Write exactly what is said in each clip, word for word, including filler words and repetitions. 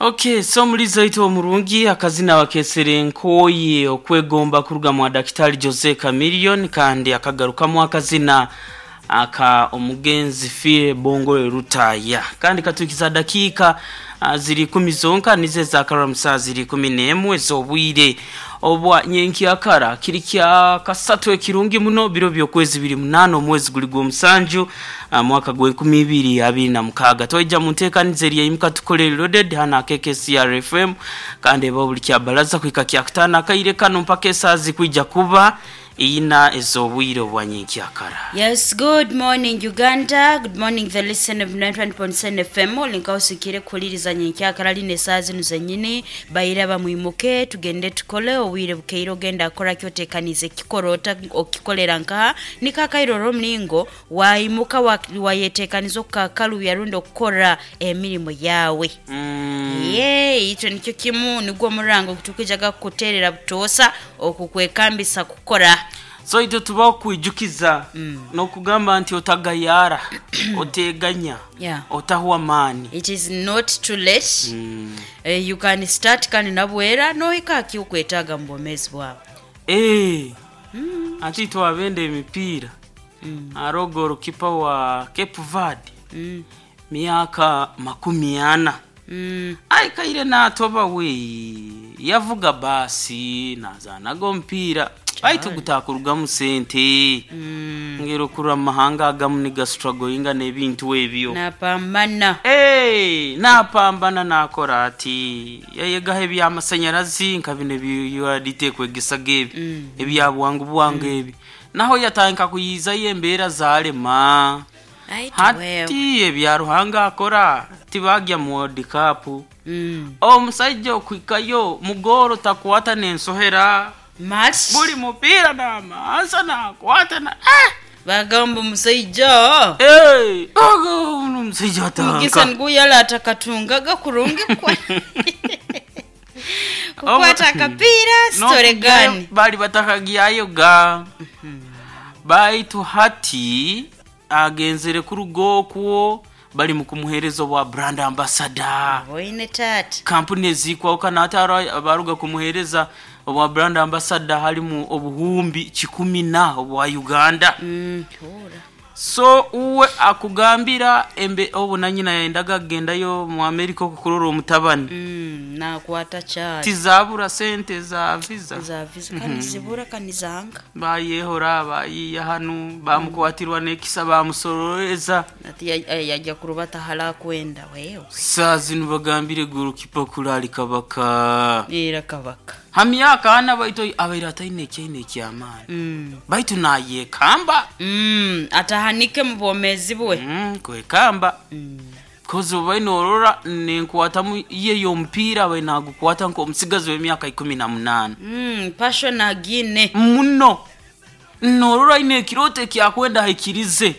Okay, so mulizo itu omurungi akazina wakesere nkoyi okwegomba kuruga mwa Daktari Jose Chameleone, kandi akagarukamu akazina aka omugenzi Fie Bongo Rutaya. Kandi katukiza dakika ah, ziri kumi zonka nize zakara musaa ziri kumi n'emwe z'obwire obwa nyenkyakara kiri kya kasatu ekirungi muno biro by'okwezi biri munana omwezi guli gw'omusanju, ah, mwaka gw'enkumi ibiri abiri na mukaaga. Twaija mu nteekaniza eri eimuka tukole loaded hana K K C R F M, kandi eba buli kya balaza kuhika kya kutaano akaire kano mpaka esaazi kwija kuba iyina ez'obwire obwa nyenkyakara. Yes, good morning, Uganda. Good morning, the listener of ninety-one point seven F M. Olinka usikire kuhuliriza nyenkyakara line esaaha zinu zenyini. Baira bamwimuke tugende tukole obwire bukeire, ogenda akora kyotekanize kikorota okikolera nkaha nikakairora omulingo waimuka wa- wayetekaniza okukakaluya rundi okukora emirimu yawe. mm. Ye itwe nikyo kimu nigwo omurango gutukwijaga kukuterera butoosa okukwekambisa kukora. So itwe tuba okwijukiza n'okugamba nti otagayara, oteganya, Yeah. otahwa amaani. It is not too late. mm. uh, you can start kandi nabwera nohika akiukwetaaga mu bwomeezi bwawe. Eh, ati twabenda emipiira aro golikipa wa Cape Verde, mm. myaka makumi ana, Mm. aikaire natoba we yavuga baasi nazaanaga omupiira baitu gutakurugamu sente. Mm. Ngero kurwa mu mahanga agamu nigastrugglinga n'ebintu ebyo. Napambana. Hey, napambana nakora ati yayegaho ebyamasanyarazi nka bino ebyadite kwegesaga ebi, Mm. ebya bwangu bwangu ebi, naho yatandika kuyizayo embeera zalema. Aitu wewe. Hati ebya Ruhanga akora tibagya mu World Cup. Mm. Omusajja okuhikayo mugoro takwata n'ensohera. Match. Buli mupiira n'amansa nakwata na eh! Bagamba omusaija. Hey, ogo omusajja mugisa atanka niguyala atakatungaga kurungi kwa kukwata akapiira sitore gani. Bali batakagyayo ga baitu hati agenzere kuruga okwo bali mu kumuheereza obwa brand ambassador. Boine taata. Kampuni ezikwawukana ate ara- baruga kumuheereza obwa brand ambassador halimu obuhumbi kikumi na obwa Uganda. Mm, hura. So uwe akugambira embe obu nanyina yayendaga kugendayo mu Amerika okukurora omutabani. Mm, nakwata kyali. Tizabura sente za visa. Za visa kandi zibura kandi zanga. Bayehora bayiya hanu bamukwatirwa nekisa bamusororeza. Ati ya- eh, yajya kurubata hala kwenda wewe. Saa zinu bagambire golukipa kulali kabaka. Era kabaka. Hamyaka ana baitu abaire ataine ekyaine ekyamaani, mm. baitu nayekamba. mm, atahanike mu bwomezi bwe. mm, kwekamba mm. kozi obaine norora nenkwatamu ye y'omupiira abaire nagukwata nk'omusigazi w'emyaka ikumi na munaana. mm, passion agine. Muno norora aine ekiroto ekyakwenda ahikirize,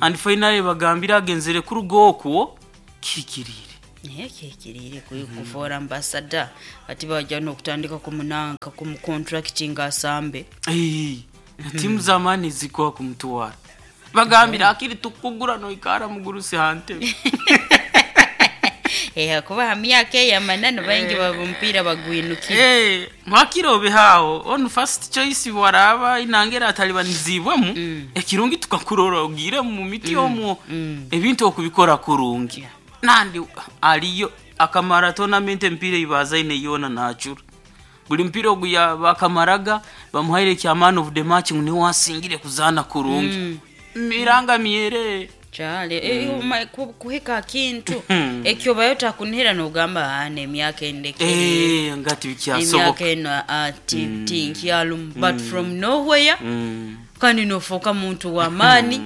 and finally bagambire agenzere kuruga okwo kihikiriire. Naye kihikiriire kufoora ambassador, ati bajja n'okutandika kumunanka kumucontracting asambe. Ei, timu z'amaani zikuwa kumutwara bagambire akiri tukugura noikara mugurusi hantebe. Eh, kuba ha myaka eyo amananu baingi baba omupiira bagwinukire. Eh, mwakire obehawo onu first choice waraba inangera atalibanizibwemu, ekirungi tukakurora ogire mu miti omwo, ebintu okubikora kurungi nandi aliyo akamara tournament empiira ibazaine yona nachura buli mpira ogu ya- bakamaraga bamuhaire kya man of the match ngu niwe wasingire kuzaana kurungi miranga myere. Kyale eh, uma- ku- kuhika kintu ekyo bayo takunihira nogamba ane emyaka endekere. Eh, ngati bikyasoboka. Emyaka eno ah, ti- tinkyalumu, but from nowhere Mm. kandi nofuuka muntu w'amaani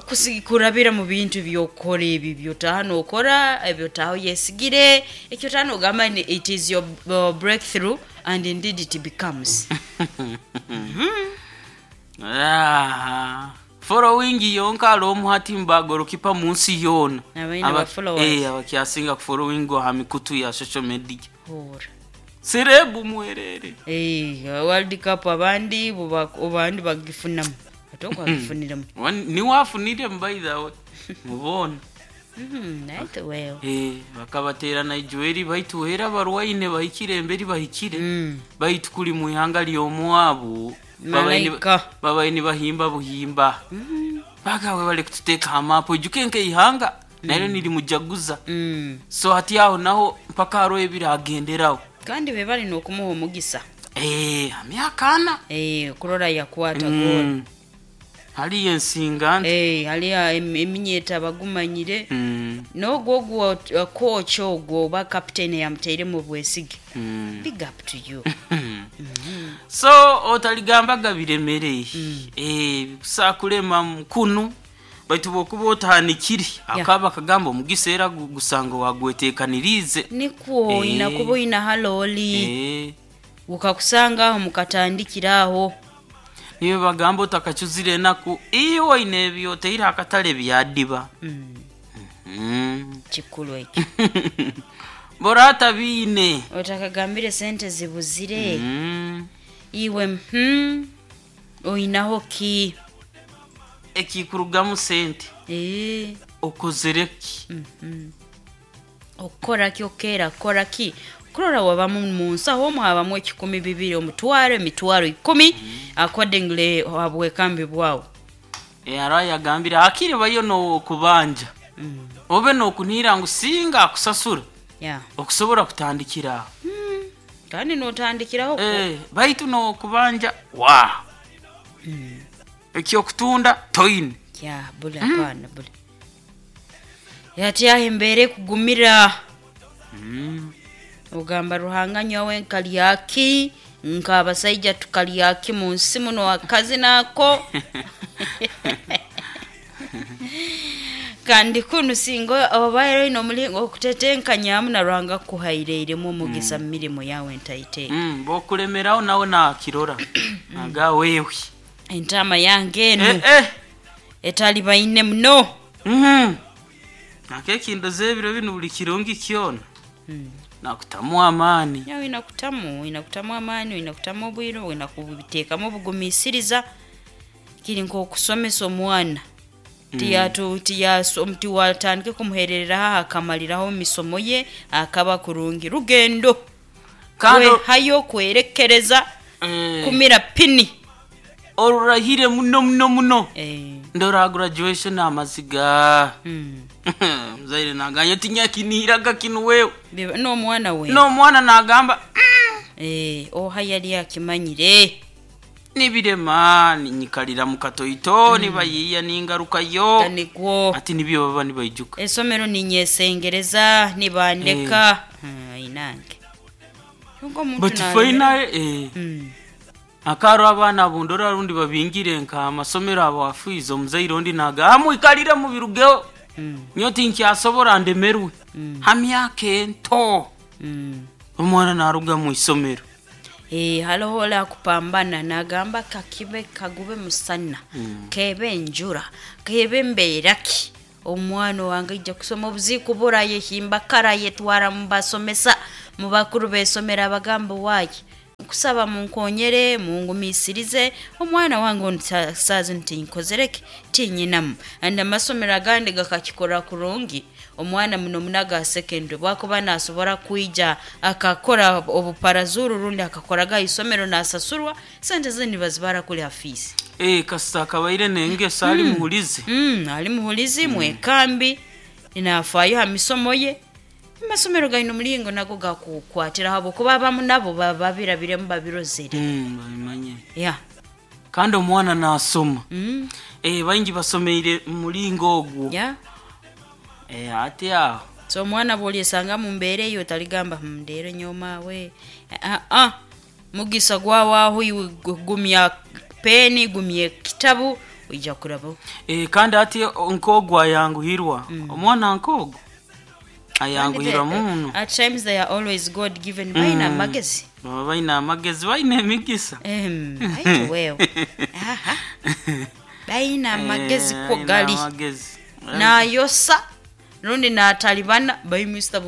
kusi- kurabira mu bintu byokora ebyo byotaha nokora ebyo taho yesigire ekyo taha nogamba ni it is your uh, breakthrough and indeed it becomes. Ah, following yonka alomu hati mbagorokipa munsi yoona. Abaine Aba- ba followers. eh, abakyasinga kufollowing ha mikutu ya social media. Hura. Serebu mwerere. Eh, World Cup abandi buba- abandi bagifunamu ate okwagifuniramu. Wan- niwafunire by the way mubona. Mhm, naite wewe. Eh, bakabaterana ijueri baitu era barwaine bahikire emberi bahikire Mm. baitu kuli mu ihanga ly'omwabu babaine Malaika. babaine bahimba buhimba bagawe bali kututeeka hamapu ijuke nke ihanga naryo nirimujaguza. Mm. So hati aho naho mpaka hariho ebiragenderaho. Kandi be balina okumuha omugisa. Eh, amyaka ana. Eh, okurora yakwata goal. Mm. Haliyo ensinga nti Eh, haliyo em- eminyeta bagumanyire. Mm, N'ogwo ogwo uh, coach ogwo oba captain yamuteiremu obwesige. mm. Big up to you. So otaligambaga biremere. Eh, kusakulema mukunu baitu bwokuba otahanikire akaba akagamba omugisa era gu- gusanga wagwetekanirize. Nikwo Eh. oyina kuba oyina halooli. Eh, Gukakusanga aho mukatandikira aho. Niyo bagamba otakacuzire enaku iwe oine ebyoteire akatale byadiba. Mm, Mm. kikulu ekyo. Borata biine. Otakagambire sente zibuzire. Mm. Iwe hmm, oyinaho ki? Ekikurugamu sente. Eh, Okozere ki? mhm. Okukora ki okeera kukora ki kurora wabamu mu nsawo omwo habamu ekikumi bibiri omutwaro emitwaro ikumi accordingly habwekambi bwawo. E, hariho yagambire hakiri bayo nokubanja Mm, obe nokunihira ngu singa akusasura yeah. okusobora kutandikira aho. Mm, kandi notandikiraho ku- Eh, baitu nokubanja wa Mm, ekyokutunda toine. Ya bule hapana bule yatyaho embeera ekugumira. Mm. Ogamba Ruhanga nyowe nkalyaki nk'abasaija tukalyaki mu nsi muno akazi nako kandi kunu singa obaire oine omulingo okutetenkanyamu na Ruhanga kuhaireiremu omugisa mu mirimu yawe entaite. Mm, bokulemeraho nawe nakirora aga wewe. Entama yange enu Eh, eh. etali baine muno. Mhm. Nakekindo z'ebiro binu buli kirungi kyona Mm. nakutamu amaani. Yawe inakutamu inakutamu amaani inakutamu obwire inakubiteekamu obugumisiriza kiri nk'okusomesa omwana tiyatu tiyaso tiwatandike kumuherereraho akamaliraho emisomo ye akaba kurungi rugendo. Kandi kwehayo kwerekereza eh, kumira pini. Orurahire muno muno muno. Eh, Ndora graduation amaziga. mm. Muzaire naganya tinyakinihiraga kinu wewe. Biba- n'omwana we. N'omwana nagamba Eh, oha yali akimanyire. Nibirema ninyikalira mu katoito nibayiiya ningarukayo. Nikwo. Ati nibyo baba nibaijuka. Esomero ninyesengereza nibandeka. Hmm, inange Yonka omuntu But nalemera. final eh, Mm. akaro abaana bundora rundi babingire nka amasomero abo afiize omuzaire ondi naga amwikalire mu birugeho. Mm. Nyo tinkyasobora ndemerwe. Mm. Ha myaka ento Mm. omwana naruga mu isomero. Eh, haloho ole akupambana nagamba kakibe kagube musana Mm. kebe enjura kebe mbeeraki omwana wange ijja kusoma obuziiku burayehimba karayetwara mubasomesa mu bakuru besomero abagamba waayi nkusaba munkonyere mungumisirize omwana wange ono sa- saazi nti nkozereke tinyinamu and amasomero agandi gakakikora kurungi omwana muno munaga secondary bwakuba nasobora kwija akakora obuparazuru rundi akakoraga isomero nasasurwa sente ze nibazibara kuli hafiisi. Eh, kasita akabaire nengeso ali muhulize. mm, ali muhulizi mwekambi nafaayo ha misomo ye amasomero galina omulingo nago gakukwatira habwokuba abamu nabo baba babirabiremu babirozere. Mm, babimanye. Ya. Kandi omwana nasoma. mm. Eh, baingi basomeire mu mulingo ogwo. Ya. Eh, ate aho So omwana bwolyesanga mu mbeera eyo otaligamba "Hmm, ndeero nyomawe ah, ah. Mugisa gwawaaho iwe gu- gumya peni gumya ekitabu oija kuraba. Eh, kandi ati nk'ogwo ayanguhirwa omwana nk'ogwo ayanguhirwa muno. At times they are always God given balina amagezi. Baba baina amagezi baina emigisa. Em, aitu wewe Aha. Balina amagezi Eh, ko baina gali amagezi. nayosa rundi natalibana baimista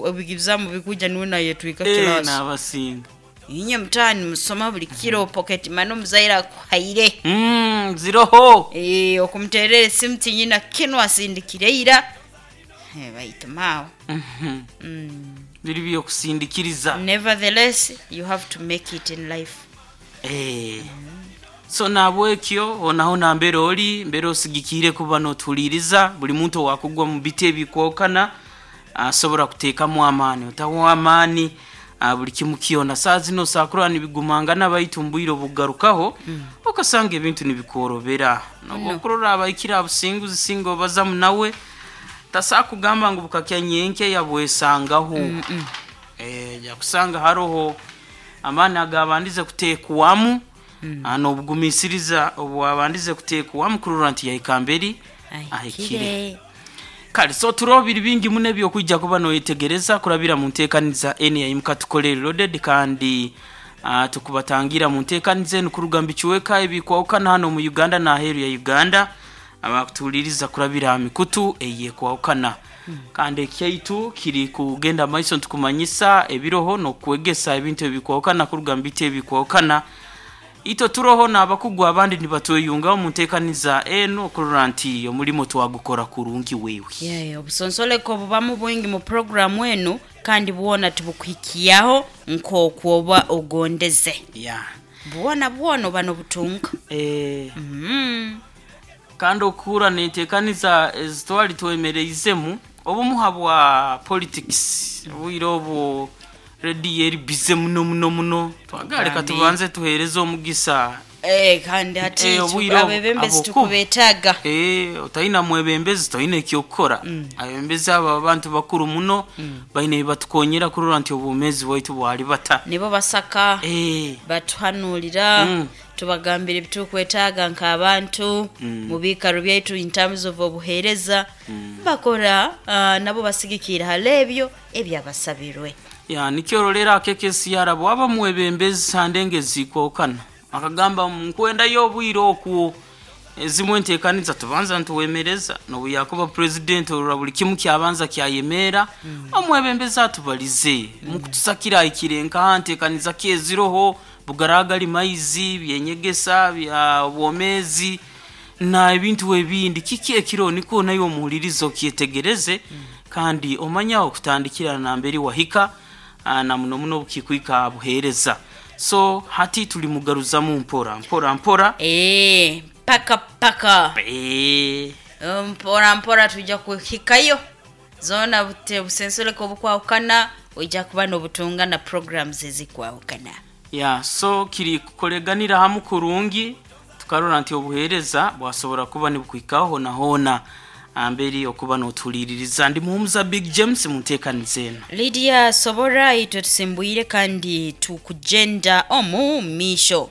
ebizamu bikuja niwe nayetwika Eh, kilasi. n'abasinga. Inye mutani musoma buli kiro pocket mano omuzaire akuhaire. Mm, ziroho. Eh, okumuterera esimu tinyina kinu asindikire ira. Eh, baitu maawe. Mhm. Mm. Biri byokusindikiriza. Nevertheless, you have to make it in life. Eh. So nabwekyo onaho nambere oli mbere osigikire kuba notuliriza buli muntu wakugwa mu biti ebikwokana asobora kuteekamu amaani otaho amaani, ah, buli kimu kyona saa zino sakurora nibigumangana, baitu mbwire obugarukaho okasanga ebintu nibikworobera noba abaikira abusinguzi singa obazamu nawe tasakugamba ngu bukakya nyenke yabwesangaho. Eh, jakusanga haroho amaani agabandize kuteekwamu, mm. N'obugumisiriza obwabandize kuteekwamu kurora nti yahika mberi ahikire. Ahikire. Kale so turoho biri bingi muno ebyokwija kuba noyetegereza kurabira mu nteekaniza eni yaimuka tukole loaded, kandi uh, tukubatangira mu nteekaniza enu kuruga mu bicuweka ebikwawukana hano mu Uganda n'aheeru ya Uganda, abakutuuliriza kurabira ha mikutu eyekwawukana. Kandi ekyaitu kiri kugenda maiso ntukumanyisa ebiroho n'okwegesa ebintu ebikwawukana kuruga mu biti ebikwawukana. Ito turoho n'abakugu abandi nibatweyungaho mu nteekaniza enu okurora nti omulimo twagukora kurungi wewe. Yeah, obusonsoleko bubamu bwingi mu programu enu, kandi bwona tubukuhikiyaho nk'okwoba ogondeze. Yeah. Bwona bwona oba nobutunga. Eh, mm. Kandi okuhura nenteekaniza ezitwali twemereizemu obumu bwa politics obwire obwo rediyo eri bize muno muno muno, twagala leka Kandi- tubanze tuheereze omugisa. Eh, kandi hati Eh, tu- obwire obu- abebembezi aboku. tukubetaaga. Eh, otalina mwebembezi toyina ekyokukora. Abebembezi abo abantu bakuru muno, baine ebibatukonyera kurora nti obwomeezi bwaitu bwali bata. Nibo basaka, Eh, batuhanuulira, Mm. tubagambira ebitukwetaaga nk'abantu mu biikaro byaitu in terms of obuheereza bakora, ah, nabo basigikira hali ebyo ebyabasabirwe. Ya nikyorolera akekesi yarabo waba mwebembezi sandenge zikwokana akagamba nkwendayo obwire okwo ezimwe enteekaniza tubanza ntuwemereza nobu yakuba president orora buli kimu kyabanza kyayemeera, omwebembezi atubalize mukutusakira ahikire nkaha nteekaniza kyeziroho bugaragali maizi byenyegesa bya obwomeezi na ebintu ebindi kiki ekiro niko nayo omuhuliriza okyetegereze, kandi omanya okutandikira namberi wahika, ah, na muno muno bukikwika buheereza. So hati tuli mugaruzamu mpora mpora mpora. Eh, paka paka. Eh, mpora mpora tujja kuhikayo zona bute busensoleko obukwawukana ojja kuba n'obutunga na programs ezikwawukana. Ya so kiri kukoleganira hamu kurungi tukarora nti obuheereza bwasobora kuba nibukwikaho hona hona amberi okuba notuliririza. Ndi muhumuza Big James mu nteekaniza eno. Lydia Sobora, itwe tusimbwire kandi tukugenda omu misho.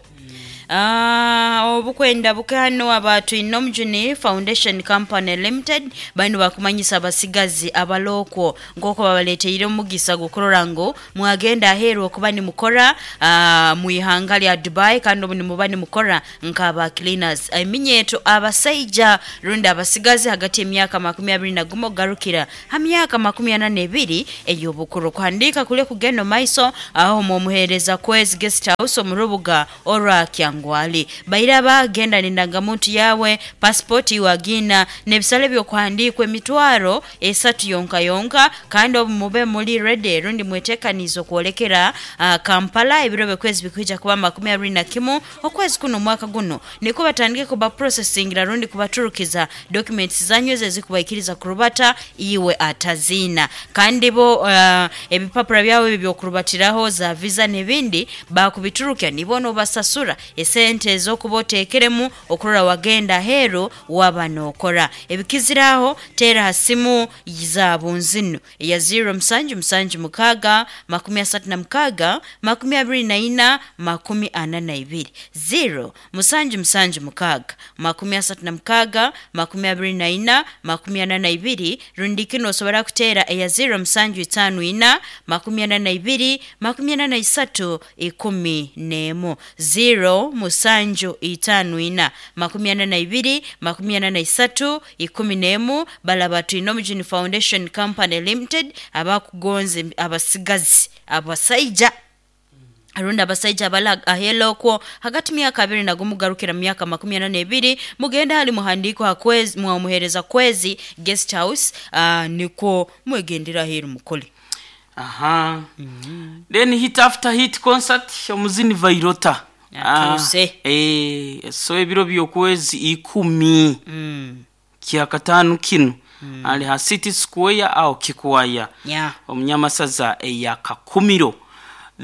Ah, obukwenda bukano abantu Inomjuni Foundation Company Limited bano bakumanyisa abasigazi abalokwo nk'uko babaleteire omugisa gukurora ngu mwagenda aheeru okuba nimukora, ah, mu ihanga lya Dubai, kandi obu nimuba nimukora nk'aba cleaners. Eminyeeto abasaija rundi abasigazi hagati y'emyaka makumi abiri na gumu kugarukira ha myaka makumi ana n'ebiri ey'obukuru kuhandiika kule kugenda omu maiso aho mwomuheereza Kwezi Guest House omu rubuga orwa Kyangwali. Bairaba genda n'endangamuntu yawe, pasipoti iwagina n'ebisale by'okuhandiikwa emitwaro esatu yonka yonka, kandi obu mube muri ready rundi mwetekanize okwolekera uh, Kampala ebiro byokwezi bikwija kuba makumi abiri na kimu okwezi kuno omwaka guno, niko batandike kuba processingira rundi kubaturukiza documents zanyu ezo ezikubaikiriza kurubata iwe atazina, kandi bo uh, ebipapura byawe ebyo byokurubatiraho za visa n'ebindi bakubiturukya, nibo nobasasura esente ez'okuba oteekeremu okurora wagenda aheeru waba nookora ebikiziraho. Teera ha simu za bunzinu eya zero musanju musanju mukaaga makumi asatu na mukaaga makumi abiri na ina makumi ana na ibiri, zero musanju musanju mukaaga makumi asatu na mukaaga makumi abiri na ina makumi ana na ibiri, rundi kino osobora kuteera eya zero musanju itaano ina makumi ana na ibiri makumi ana na isatu ikumi n'emu, zero musanju itaano ina makumi ana na ibiri makumi ana na isatu ikumi n'emu. Balaba Twinomujuni Foundation Company Limited abakugonza abasigazi abasaija. Rundi abasaija abali ahela okwo hagati myaka abiri nagumu garukira myaka makumi ana n'ebiri, mugenda hali muhandiko hakwezi mwamuhereza kwezi guest house, uh, niko mwegendera heru mukole. Aha. Mm-hmm. Then hit after hit concert omuzini Vairota. Atuse. Ah, eh so ebiro byokwezi ikumi. Mm. Kyakatano kino. Mm. Ali ha City Square au Kikwaya. Yeah. Omunyamasaza eya Kakumiro.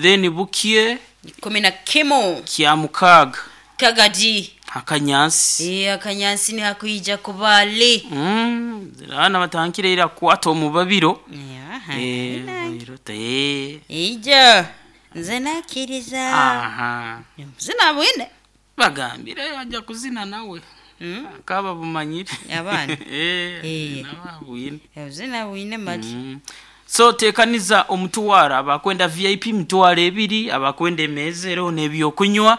Then bukie kumi na kimu kya mukaga Kagadi akanyansi. Eh akanyansi ni hakuija kubali. Mm, zirana batankire ira kwato omubabiro. Yeah. Eh Vairota eh. Ija nze nakiriza. Aha. Zina bwine. Bagambire ajja kuzina nawe. Mm. Akaba bumanyire. Abana. Eh. Eh. Nababwine. Zina bwine mali. Mm. So tekaniza omutwara abakwenda V I P mitwaro ebiri, abakwenda emezero n'ebyokunywa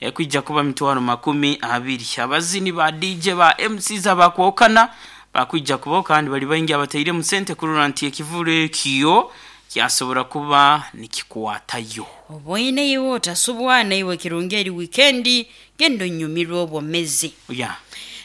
ekwijja kuba mitwaro makumi abiri. Abazini ba D J ba M Cs abakwokana bakwijja kuba kandi bali baingi abataire mu sente kurura nti ekivule kiyo kyasobora kuba nikikwatayo. Obwoine iwe otasubwana iwe kirungi eri weekendi gendo nyumirwa obwomezi. Yeah.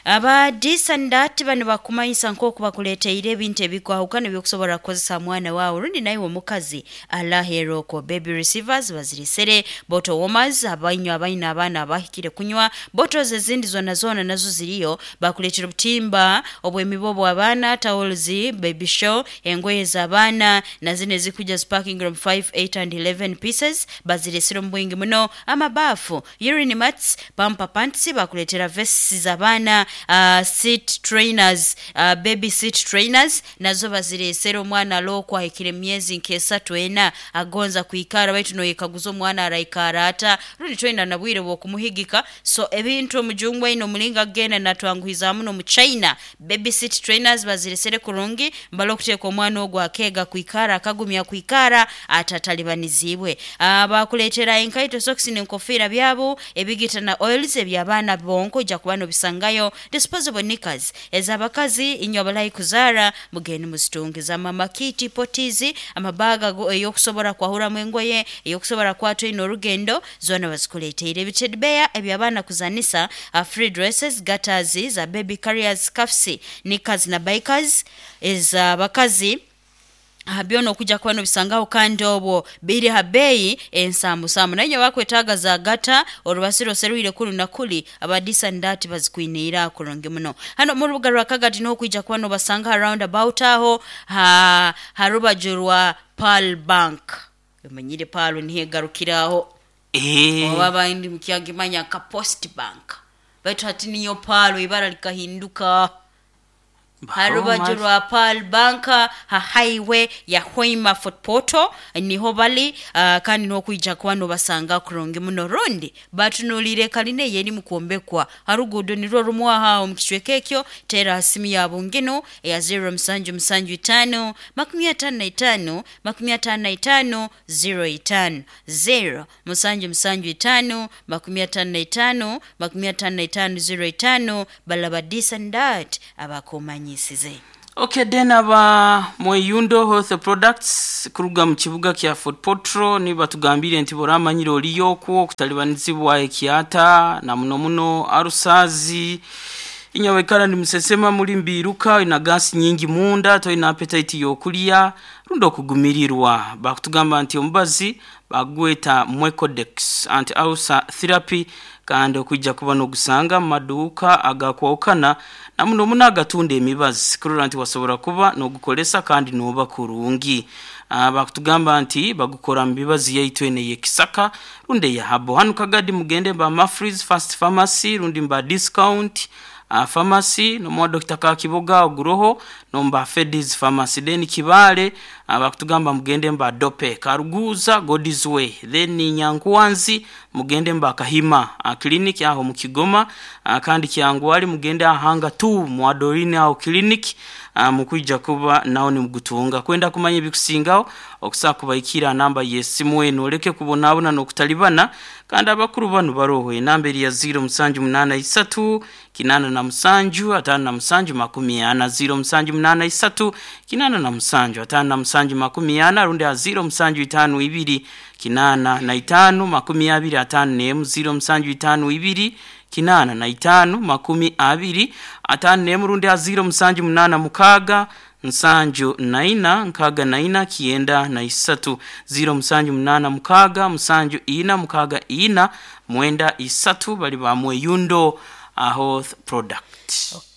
Aba disandati bano bakumanyisa nk'oku bakuleteire ebintu ebikwahukana ebyokusobola kukozesa mwana waawe rundi naye omukazi alaheroko baby receivers baziresere, bottle warmers abainywa abaina abaana abahikire kunywa, bottles ezindi zona zona nazo ziriyo, bakuleetera obutimba obw'emibo bw'abaana, towels, baby show, engoye z'abaana na zino ezikuja sparking room five, eight and eleven pieces baziresere omu bwingi muno, amabaafu, urine mats, pamper pants, bakuleetera vests z'abaana, Uh, seat trainers, uh, baby seat trainers nazo baziresera omwana alokwa ahikire emyezi nk'esatu ena agonza kwikara baitu noyekaguza omwana araikara ata rundi twena nabwire bwokumuhigika. So ebintu omujungwa ino omulinga agenda natwanguhiza muno mu China. Baby seat trainers baziresere kurungi mbalo okuteeka omwana ogwo akeega kwikara akagumya kwikara atatalibanizibwe. Uh, bakuleetera enkaito socks n'enkofiira byabo ebigita na oils eby'abaana bonko ojja kuba nobisangayo, disposable knickers ez'abakazi inywa abalayi kuzara mugende muzitungiza, mama kiti potizi amabaga ey'okusobola kwahuramu engoye ey'okusobola kwatwa ino orugendo zona bazikuleteire, ebitedbeya eby'abaana kuzanisa, uh, free dresses, gutters za baby carriers, scarves, knickers na bikers ez'abakazi byona okujja kuba nobisangaho kandi obwo biri ha beeyi ensambusambu. Naye bakwetaaga za gata olubasiro oseruire kulu na kuli abadisa ndati bazikwiniira kurungi muno. Hano mu rubuga rwa Kagadi n'okwijja kuba nobasanga round about aho ha harubaju rwa Pearl Bank. Omanyire Pearl nihegarukiraho. Eh. Oba bandi mukyagimanya ka Post Bank. Baitu hati niyo Pearl ibara likahinduka. Harubaju rwa Pearl Bank ha highway ya Hoima Fort Portal niho bali, uh, kandi n'okwijja kuba nobasanga kurungi muno. Rundi batunulire kaline yeri mukuombekwa harugudo nirwo rumwaha omukicweka ekyo, tera simu ya bungino ya zero musanju musanju itano makumi atano na itano makumi atano na itano zero itano zero musanju musanju itano makumi atano na itano makumi atano na itano zero itano balaba disandat abakomanyi. Okay, then aba Mweyundo Health Products kuruga mu kibuga kya Fort Portal ni batugambire nti boramanyire oliyo okwo okutalibanizibwa ekyata na muno muno arusazi inyawekala ndi musesema muri mbiruka ina gasi nyingi munda toina appetite yokulya rundo okugumirirwa. Bakutugamba nti omubazi bagweta Mwecodex anti ulcer therapy kandi okujja kuba n'ogusanga mu maduuka agakwawukana na muno muno agatunda emibazi kurora nti wasobola kuba n'ogukolesa kandi n'oba kurungi. Uh, bakutugamba nti bagukora mu bibazi yaitu ene y'ekisaka rundi ya habo. Hano Kagadi mugende ba Mafreeze Fast Pharmacy rundi mba Discount uh, Pharmacy nomwa Doctor Kakiboga oguroho nomba Fedis Pharmacy. Then Kibale uh, bakutugamba mugende mba Dope Karuguza God's Way. Then Nyankuwanzi mugende mba Kahima uh, clinic aho mu Kigoma, uh, kandi Kyangwali mugende ahanga tu mwadorine aho clinic uh, mukwijja kuba nawo ni mugutunga kwenda kumanya ebikusingaho okusa kubaikira namba yesimu eno oleke kubonabona n'okutalibana. Kandi abakuru bano baroho enamba eri ya zero musanju munana isatu kinana na musanju atano na musanju makumi ana zero musanju munana nana isatu kinana na musanju atano na musanju makumi ana rundi ha ziro musanju itano ibiri kinana na itano makumi abiri atano nemu ziro musanju itano ibiri kinana na itano makumi abiri atano nemu rundi ha ziro musanju munana mukaga nsanju naina nkaga naina kienda na isatu ziro musanju munana mukaga musanju ina mukaga ina mwenda isatu bali bamwe yundo aho product.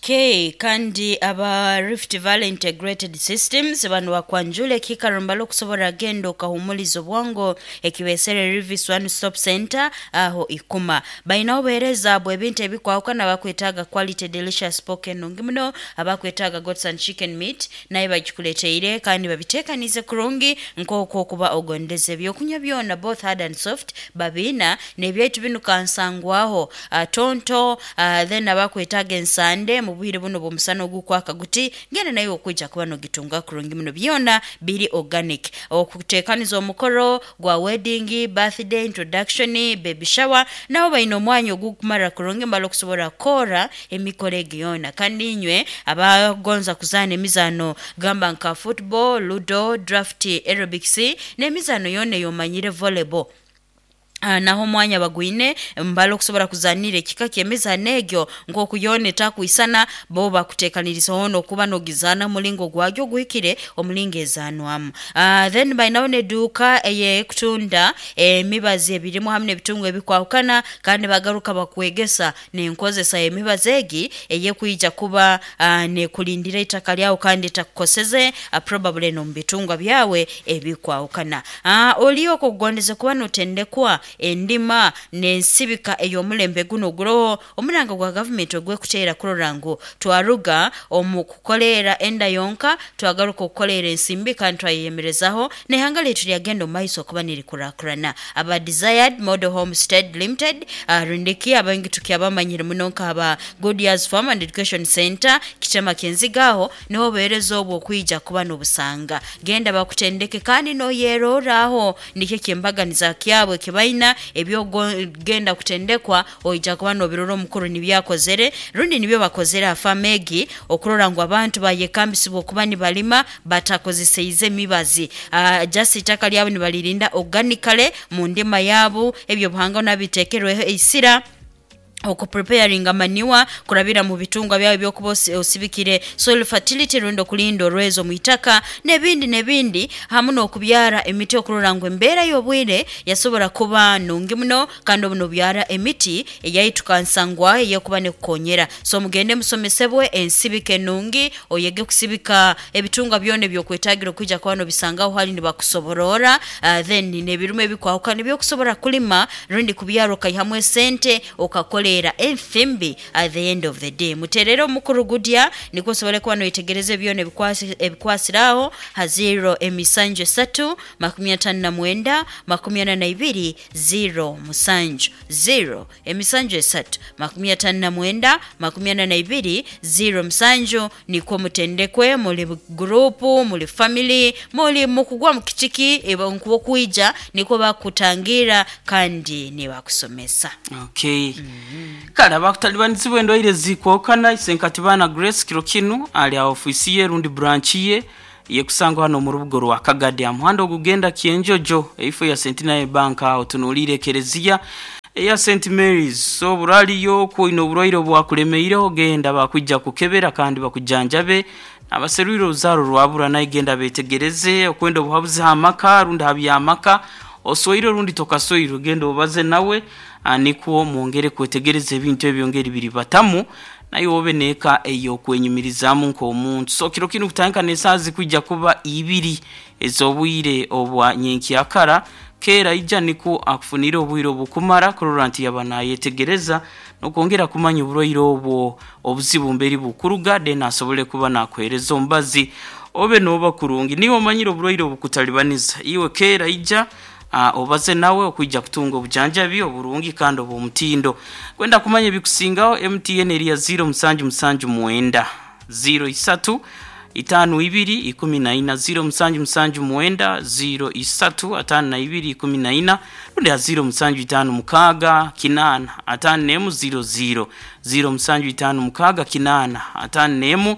Okay, kandi aba Rift Valley Integrated Systems bano bakwanjule kikarumbalo kusobora genda okahumuliza obwongo ekibesere Rivis One Stop Center aho ikuma baina obuhereza bwe ebintu ebikwawukana bakwetaaga quality delicious pork enungi muno, abakwetaaga goats and chicken meat naye bagikuleteire kandi babiteekanize kurungi nk'okwo okuba ogondeze ebyokunywa byona both hard and soft babiina n'ebyaitu binu kansangwaho uh, tonto uh, then abakwetaaga ensande mu bwire buno bw'omusana ogukwaka guti ngenda naye okwijja kuba nogitunga kurungi muno byona biri organic. Okuteekaniza omukoro gwa wedding, birthday, introduction, baby shower nabo balina omwanya ogukumara kurungi mbala okusobola kukora emikoro egi yona. Kandi inywe abagonza kuzaana emizaano gamba nka football, ludo, draft, aerobics n'emizaano yona ey'omanyire volleyball. Uh, naho omwanya bagwine mbala okusobola kuzanira ekika ky'emizaano egyo nk'okuyona etakwisana bo bakuteekaniriza hono okuba nogizaana omulingo gwagyo oguhikire omulingo ezaanwamu. Uh, then balinawo n'edduuka ey'ekutunda emibazi ebirimu hamu n'ebitungu ebikwahukana kandi bagaruka bakwegesa n'enkozesa y'emibazi egi eyekwija kuba uh, nekulindira ettaka lyawe kandi etakukoseze uh, probably n'omu bitungwa byawe ebikwahukana. Uh, oli okugondeza kuba notendekwa endima n'ensibika ey'omulembe guno oguroho omuranga gwa gavumenti ogwekuteera kurora ngu twaruga omu kukoleera enda yonka twagaruka okukoleera ensimbi kandi twayeyemerezaho n'eihanga lyaitu lyagenda omu maiso okuba nirikurakurana. Aba Desired Model Homestead Limited uh, rundiki abaingi tukyabamanyire muno nk'aba Goodyears Farm and Education Center kitema kyenzigaho niho obuheereza obwo okwija kuba n'obusanga genda bakutendeke kandi noyeroraho nikyo kyembaganiza kyabwe kibaina ebyogenda kutendekwa oija kuba nobirora omukuru nibyakozere rundi nibyo bakozere afamegi okurora ngu abantu bayekambisibwa okuba nibalima batakozeseize emibazi uh, just itaka lyabo nibalirinda organically mu ndima yabo ebyo buhanga nabiteekerweho eisira okupreparinga maniwa kurabira mu bitungwa byawe byokuba osibikire soil fertility rundo kulinda orwezo muitaka nebindi nebindi hamu n'okubyara emiti okurora ngu embeera y'obwire yasobora kuba nungi muno kandi obuno byara emiti eyaitukansangwa eyekuba nekukonyera. So mugende musomesebwe ensibike nungi oyege kusibika ebitungwa byona ebyokwetagira okwijja kuba nobisangaho hali nibakusoborora uh, then nebirume ebikwahukana ebyokusobora kulima rundi kubyara okaihamu esente okakola era enfimbi at the end of the day. Muterero omukuru Gudya nikwo osobole kuba noyetegereza ebyona ebikwasiraho ha zero emisanju esatu makumi atano na mwenda makumi ana na ibiri zero musanju zero emisanju esatu makumi atano na mwenda makumi ana na ibiri zero musanju nikwo mutendekwe muli gurupu muli family muli mukugwa mukitiki nkuba okwija nikwo bakutangira kandi nibakusomesa. Okay. Mm-hmm. Kale abakutalibanizibwa endwaire zikwokana Isenkatibana Grace kiro kinu ali a ofisi ye rundi branch ye yekusangwa hano mu rubugo rwa Kagadi amuhanda ogugenda Kyenjojo eifo ya Centenary Bank aho tunulire kerezia eya Saint Mary's. So buraliyo kuino oburwaire obwakulemeireho genda bakwijja kukebera kandi bakujanjabe abaserwire oruzaro rwabura naye genda betegereze okwenda obuhabuzi hamaka rundi habyamaka osoire rundi tokasoire genda obaze nawe anikuo mwongere kwetegereza ebintu ebyongeri biri batamu naye wobe neka eyo kwenyumirizaamu nk'omuntu. So kiro kinu kutandika n'esaaha kwijja kuba ibiri ez'obwire obwa nyenkyakara keera ija niko akufunire obwire obukumara kurora nti yaba nayetegereza n'okwongera kumanya oburwaire obwo obuzibu mberi bukuruga then asobole kuba nakuheereza omubazi obe noba kurungi. Niwe omanyire oburwaire obukutalibaniza iwe keera ija Uh, obaze nawe okwijja kutunga obujanjabi oburungi kandi obw'omutindo. Kwenda kumanya ebikusingaho M T N eri ya zero musanju musanju mwenda zero isatu itano ibiri ikumi na ina zero musanju musanju mwenda zero isatu atano na ibiri ikumi na ina rundi ya zero musanju itano mukaga kinana atano nemu zero zero zero musanju itano mukaga kinana atano nemu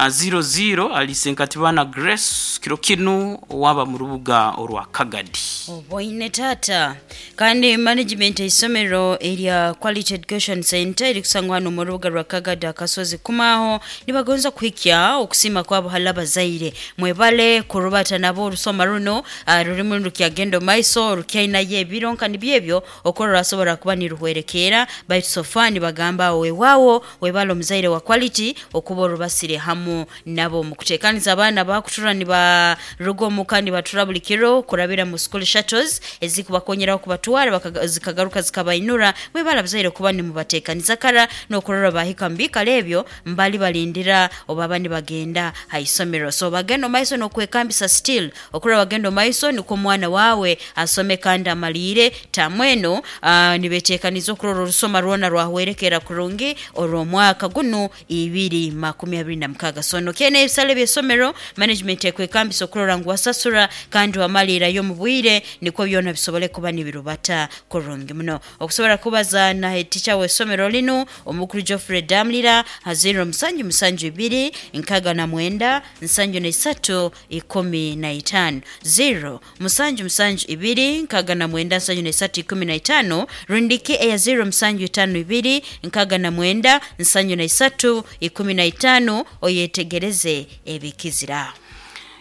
zero zero alise Nkatibana Grace kiro kinu waba mu rubuga orwa Kagadi. Oboine tata kandi management isomero erya Quality Education Center eri kusangwa hano mu rubuga rwa Kagadi akasozi kumaho nibagonza kuhikya okusima kwabo halaba zaire mwebale kurubata nabo orusoma runo uh, rurimu rukyagendo maiso rukyaina ye bironka nibyebyo okorora asobora kuba niruhwerekera baitu sofani bagamba wewawo webale omuzaire wa Quality okuba orubasire hamu nabo mukutekaniza abaana bakutura nibaruga omuka nibatura buli kiro kurabira mu school shuttles ezikubakonyeraho kubatwara zikagaruka zikabainura mwebale abazaire kuba nimubatekaniza kara n'okurora bahika mbikala ebyo mbali balindira oba nibagenda haisomero. So bagenda maiso n'okwekambisa still okurora bagenda maiso niko omwana wawe asome kandi amalire tamweno uh, nibetekaniza okurora orusoma rwona rwahwerekera kurungi orw'omwaka guno ibiri makumi abiri na mukaga. So nokene ebisale by'essomero management ekwekambisa okurora ngu wasasura kandi wamalirayo mu bwire niko byona bisobole kuba nibirubata kurungi muno. Okusobola kubaza na teacher w'essomero lino omukuru Geoffrey Damlira haziro musanju musanju ibiri nkaga na mwenda nsanju na isatu ikumi na itano zero musanju musanju ibiri nkaga na mwenda nsanju na isatu ikumi na itano rundiki eya zero musanju itano ibiri nkaga na mwenda nsanju na isatu ikumi na itano oyetegereze ebikizira.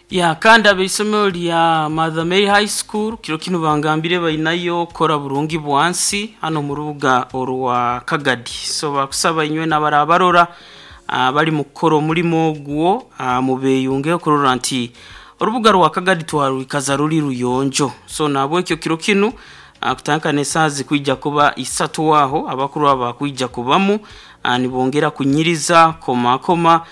Ya kandi abeisomero lya Mother Mary High School kiro kino bangambire bainayo kora burungi bwansi hano mu rubuga orwa Kagadi. So bakusaba inywe n'abarabarora bali mu kukora omulimo ogwo mubeyunge okurora nti orubuga rwa Kagadi twarwikaza ruri ruyonjo. So nabwekyo kiro kino kutandika n'esaazi kwijja kuba isatu waho abakuru aba kwijja kubamu nibongera kunyiriza koma koma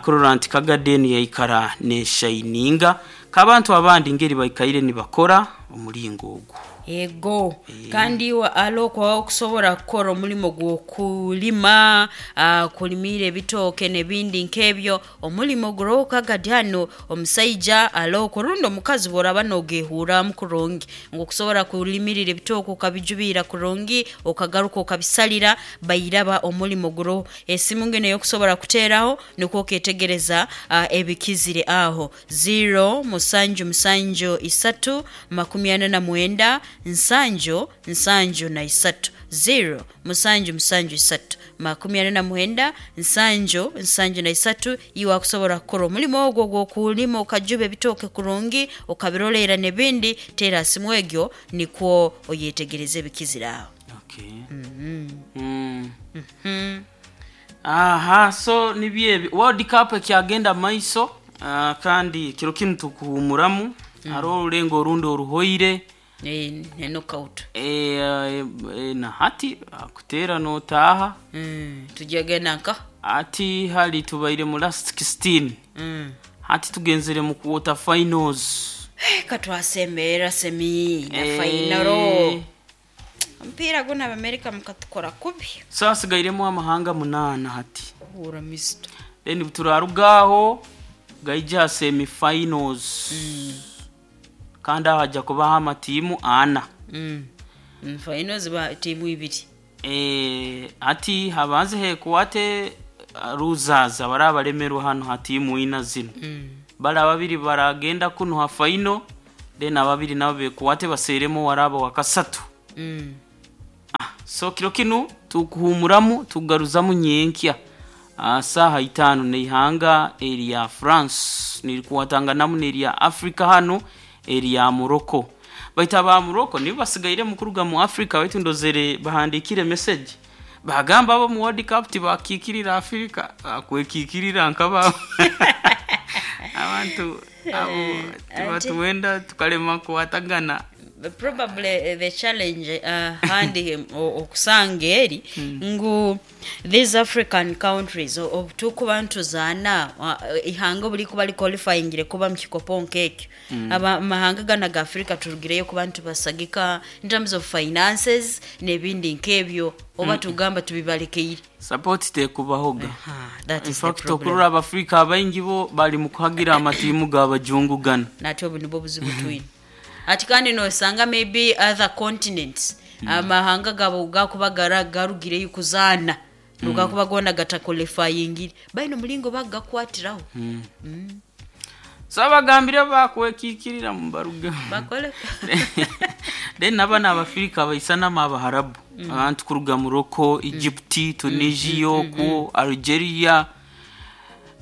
kurora nti Kagadi ni yaikara ne shininga kabantu abandi ngeri baikaire nibakora omulingo ogwo. Ego e. Kandi wa alo kwa okusobola kukora omulimo gw'okulima uh, kulimira ebitooke n'ebindi nk'ebyo omulimo guroho Kagadi hano omusaija alo kurundi omukazi bworaba nogehuuramu kurungi ngu okusobola kulimirira ebitooke okabijubira kurungi okagaruka okabisalira bairaba omulimo guroho esimu ngene yokusobola kuteeraho nikwo oketegereza uh, ebikizire aho zero musanju musanju isatu makumi ana na mwenda nsanju nsanju na isatu zero musanju musanju isatu makumi ana na mwenda nsanju nsanju na isatu iwe akusobola kukora omulimo ogwo gw'okulima okajuba ebitooke kurungi okabirolera n'ebindi teera simu egyo nikwo oyetegereze ebikizire aho. Okay. Mm-hmm. Mm. Mm-hmm. Aha, so nibyebi World Cup ekyagenda maiso uh, kandi kiro kinu tukuhumuramu mm. Hariho orulengo orundi oruhoire Eh, ne knockout. Eh, eh, na hati kutera notaha mm, tujagenda nka ati hali tubaire mu last sixteen mm. Hati tugenzere mu quarter finals eh, katwasemera semi na eh, final mpira guna Amerika mukatukora kubi. Sasa sigairemo amahanga munana hati hura misto then turarugaho gaija semi finals mm. Kandi haja kubaho amatiimu ana mm. Finals ba tiimu ibiri eh ati habanze hekuwate ruzaza barabalemerwa hano hatiimu ina zino mm. Bala babiri baragenda kuno ha final then ababiri nabo bekuwate baseremo waraba wakasatu mm. Ah, so kiro kinu tukuhumuramu tugaruzamu nyenkya ah, saha itano neihanga eri France nirikuwatanganamu neri Africa hano eri ya Morocco. Baita ba Morocco nibo basigaire mukuruga mu Africa baitu ndozere bahandikire message bagamba abo mu World Cup tibakikirira Africa akwekikirira nkaba abantu abo tibatuwenda tukalema kuwatagana. Probably the challenge uh, handi okusanga eri ngu these African countries obutukuba ntuzaana ihanga buli kuba qualifying kuba mu kikopo nkekyo mm. Amahanga gana ga Africa turugireyo kuba ntubasagika in terms of finances n'ebindi nkebyo oba mm. Tugamba tubibalekeire support tekubahoga. That in is fact the problem. Okurora Abafrika abaingi bo bali mu kuhagira amatiimu g'abajungu gana natyo buno buzibu twine. Ati kandi nosanga maybe other continents mm. Amahanga gabo gakuba garugireyo kuzaana Lugakuba gona gataqualifyingire baino mulingo bagakwatiraho. Mm. So abagambire bakwekikirira mu baruga Bakole. Then n'abana abafirika baisanama abaharabu, abantu kuruga Morocco, Egypt, Tunisia, ku Algeria,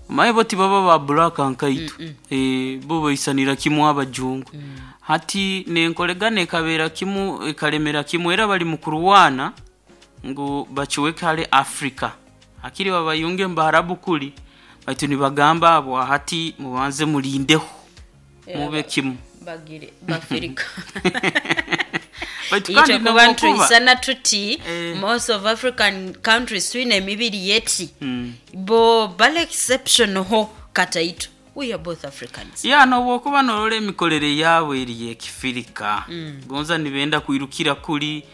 maye bo tibaba ba black nkaitu, eh, bo baisanira kimu abajungu. Hati nenkolegana ekabeera kimu, ekalemera kimu, era bali mu kurwana ngu bakiweke hale Africa, akiri babayunge mu baharabu kuli, baitu nibagamba abo hati mubanze mulindeho mube kimu. Bagire bafirika. Baitu kandi Itwe kuba nobwokuba ntuisana tuti Eh. most of African countries twine emibiri yeti, Mm. bo bali exception ho kataito. We are both Africans. Ya, nobwokuba norora emikorere yaabo eri yekifirika, gonza nibenda kwirukira kuri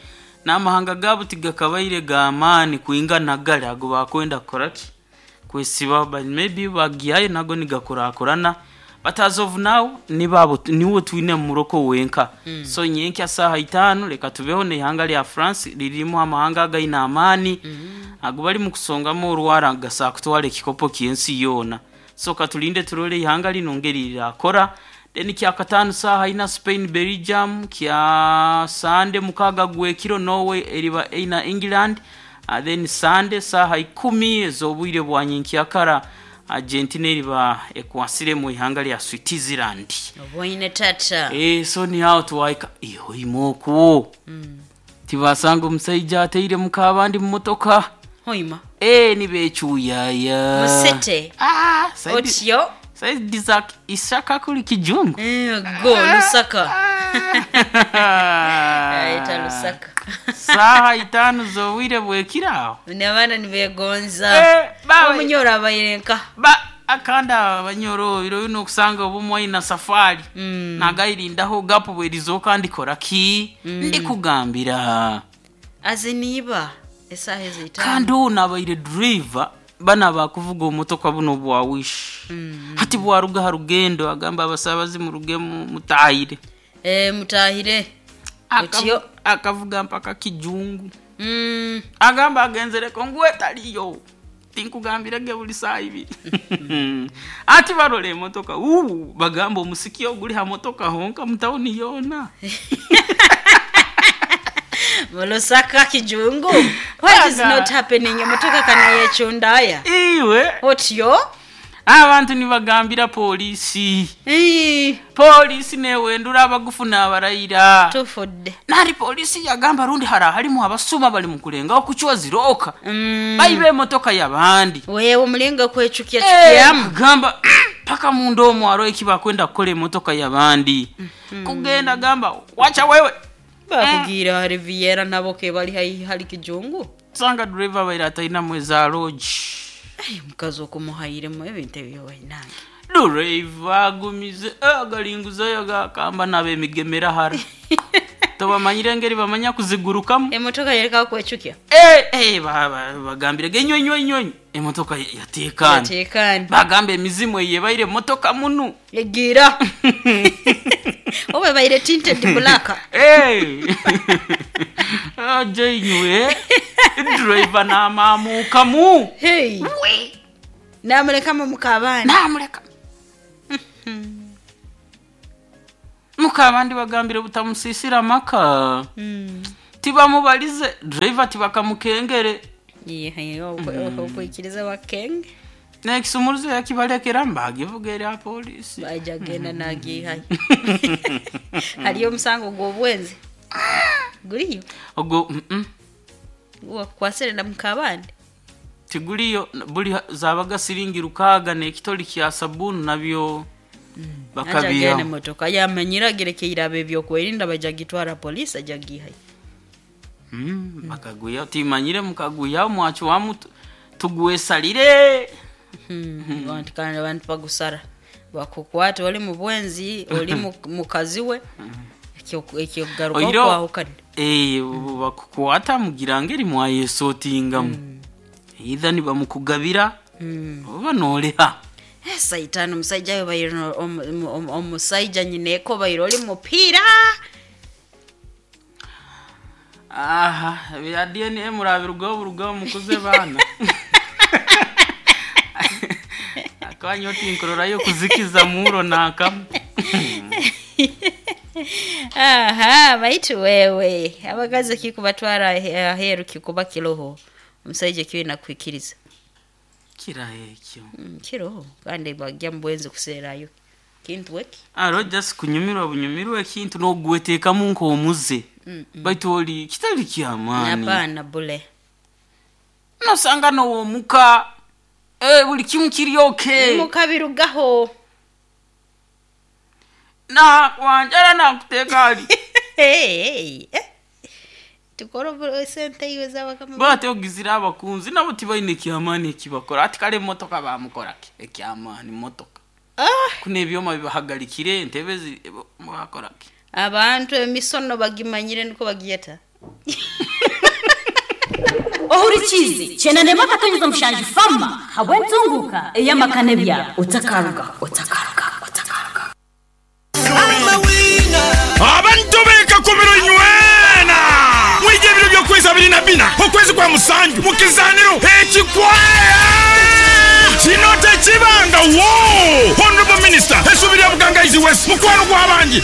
n'amahanga gaabo tigakabaire g'amaani kwingana gari ago bakwenda kukoraki kwesiba, but maybe bagihayo nago nigakurakurana. But as of now nibabo niwo twine mu Morocco wenka. So nyenkya saha itano reka tubeho n'ihanga lya France lirimu amahanga againe amaani, ago bali mu kusongamu orwara gasa kutwara ekikopo ky'ensi yoona. So katulinde turole ihanga lino ngeri lirakora. Then kya katano saha ina Spain Belgium, kya Sunday mukaga gwekiro Norway eriba eina England. uh, then Sunday saha ikumi ez'obwire bwa nyenkyakara Argentina eriba ekwasire mu ihanga lya Switzerland. Obwoine tata. Eh, so ni aho tuwaika iyo imokwo tibasanga omusaija ateire mukabandi mu motoka. Hoima. Eh, nibecyuyaya. Musete. Ah, saidi Otyo. saidi za Isaka kuli Kijungu. Eh, go Lusaka. Aita Lusaka. Saha itano z'obwire bwekiraho. N'abaana nibegonza. Eh, bawe. Omunyoro abayirenka. Ba akanda abanyoro biro bino okusanga obumwe na safari Mm. nagayirindaho gapu bwerizoka ndikora ki ndikugambira. Aziniba esaha ezitano. Kandi uno abaire driver bana bakuvuga omutoka buno bwa wish, hati bwaruga ha rugendo agamba abasabazi muruge mu- mutahire. Eh, mutahire. Akavu- Otyo. Akavuga mpaka Kijungu. Mm. Agamba agenzereko ngwe taliyo tinkugambirege buli saa ibiri. Ati barora emotoka uu bagamba omusiki oguli ha motoka honka mutawuni yoona. Mu Lusaka Kijungu. What is Aga. not happening? Emotoka kana yechundaya. Iwe. Otyo. Abantu nibagambira polisi. Eh, Polisi newendura abagufu n'abarayira. Tufudde. Nari polisi yagamba rundi hara harimu abasuma bali mu kulengaho kucwa ziroka, Mm. bayiba emotoka y'abandi. Wewe omulinga kwechukia Eh, chukiamu. gamba paka munda omwo hariho eki bakwenda kukora emotoka y'abandi, kugenda gamba wacha wewe. Bakugira Riviera nabo ke bali hai hali Kijungu. Sanga driver baira atainamu eza lodge. Ai mukazi okumuhayiremu ebintu ebyo wainange. Driver agumize eh, agalinguzayo gakamba n'abemigemera hara tobamanyire engeri bamanya kuzigurukamu. Emotoka yereka kwechukia. Eh, eh, ba- ba- bagambire genyonyonyonyi emotoka yatekana. Yatekana. Bagamba emizimu eyebaire emotoka munu. Egira. Obe baire tinted black. Hey! Aje inywe driver n'amamukamu. Hey. Namuleka mu kabani. Namuleka mukabandi bagambire butamusisira amaka. Mm. Tibamubalize driver tibakamukengere. Ye okwikiriza wakenge. Nekisumuruzo yakibalekera mbagivuga erya polisi. Baija genda nagihayo. Haliyo omusango gw'obwenzi. Guliyo. Ogwo mm -mm. Wakukwasire na mukabandi. Tiguliyo buli zabaga siringi rukaga n'ekitoli kya sabuni nabyo Ajagenda bakabiha. emotoka yamanyiragire keiraba ebyokwerinda baja gitwara polisi aja gihayo. Mm, bakaguya timanyire mukaguya mwacho wamu tu- tugwesalire. Hmm, abantu kandi abantu bagusara bakukwata oli mu bwenzi oli mu- mukazi we ekyokugaruka Oiro- okwahukana. Eh, bakukwata mugira ngeri mwayesotingamu either nibamukugabira Mm. oba noleha. Eh, saitani omusajja we baire no- omu- omu- omusajja nyineko baire oli mupiira. Aha, bya D N A murabirugaho burugaho mukuze baana. Akanya otinkurorayo kuzikiza muro nakamu. Aha, baitu wewe abakazi kikubatwara ahe- aheru kikuba kiroho omusaija kiwe nakwikiriza. Kiraho ekyo. Mm, kiroho kandi bagya mubwenzi kuseerayo kintu weki. Aro just kunyumirwa bunyumirwa ekintu n'ogweteekamu nk'omuze, baitu oli kitali kyamaani. Hapana, bule. Nosanga nowomuka, eh, buli kimu kiri okay. Mukabirugaho. Na wanjala nakuteeka ali. Hey, hey, eh. Tukora obu- sente iwe zabakama. Bate ogizire abakunzi nabo tibaine kyamaani ekibakora, ati kale emotoka bamukoraki ekyamaani motoka? Ah, kuno ebyoma bibahagalikire entebe zi- bakoraki? Abantu emisono bagimanyire niko bagiyeta. Ohurikize chenanema katonyeza mushanju fama habwentunguka eyamakane byabo otakaruga otakaruga otakaruga. Abantu bekakumiro nywena mwije ebiro by'okwezi abiri na bina okwezi kwa musanju mu kizaniro ekikwaya kino tekibanga wo. Honorable Minister essuubi lya Bugangaizi West, mukwano gw'abangi.